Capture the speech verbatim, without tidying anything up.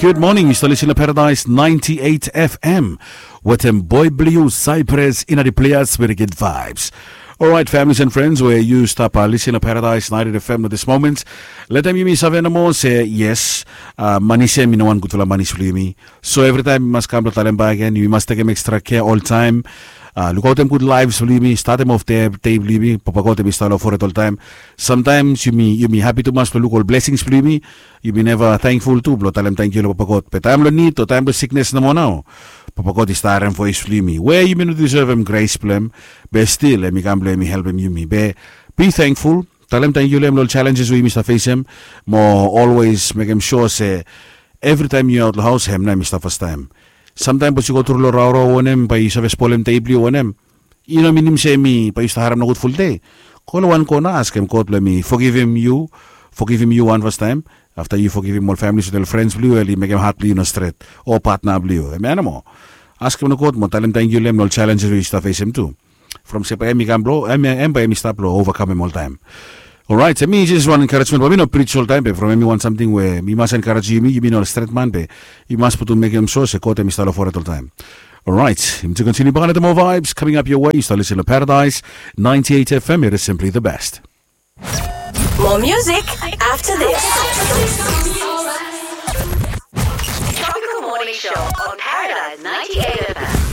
Good morning, yu stap lisin long Paradise ninety-eight F M wetem boy blue Cypress in the players with the good vibes. Alright, families and friends, where yu stap uh, lisin long Paradise ninety-eight F M at this moment. Letem yumi save nomo se yes, uh, manis ya mi no wan gudfala manis blong yumi. So every time yumi mas kam blong talem bak gen, yumi mas tekem extra care all time. Uh, lukautem gud lives blong yumi, statem of day blong yumi, Papa God em i stap long foret all time. Sometimes yumi yumi happy tumas blong luk ol blessings blong yumi. Yumi neva thankful tu blong talem tangkiu long Papa God. Be taem blong nid o taem blong siknes nomo nao, Papa God i stap harem voes blong yumi we yumi no deservem grace blong em. Be stil em i kam blong em i helpem yumi. Be be thankful. Talem tangkiu long em long ol challenges we yumi stap fesem. Mo always mekem sua se evri taem yu aot long haos hem nao em i stap fastaem. Samtaem bos yu go tru long raorao wanem bae yu save spolem dei blong yu wanem. I no minim se mi bae yu stap harem nogud fulde. Go long wan kona askem God blong em i fogivim yu, fogivim yu wan fastaem. Afta yu fogivim ol familis wetem ol frens blong yu, el i mekem hat blong yu no stret o patna blong yu, em animo. Askem long God mo talem tangkiu long em long ol challenges we yu stap fesem tu. From se bae em i kam blong em bae em i stap long ovakamem oltaem. Orait, em i jes wan encouragement bae mi no prij oltaem be from em i wan samting we mi mas encourage yumi, yumi no ol stret man be yumi mas putum mekem so se God em i stap long foret oltaem. Orait, yumi tu continue bak another more vibes coming up your way. Yu stap lisin long Paradise ninety-eight F M, it is simply the best. More music after this. Tropical Morning Show on Paradise ninety-eight F M.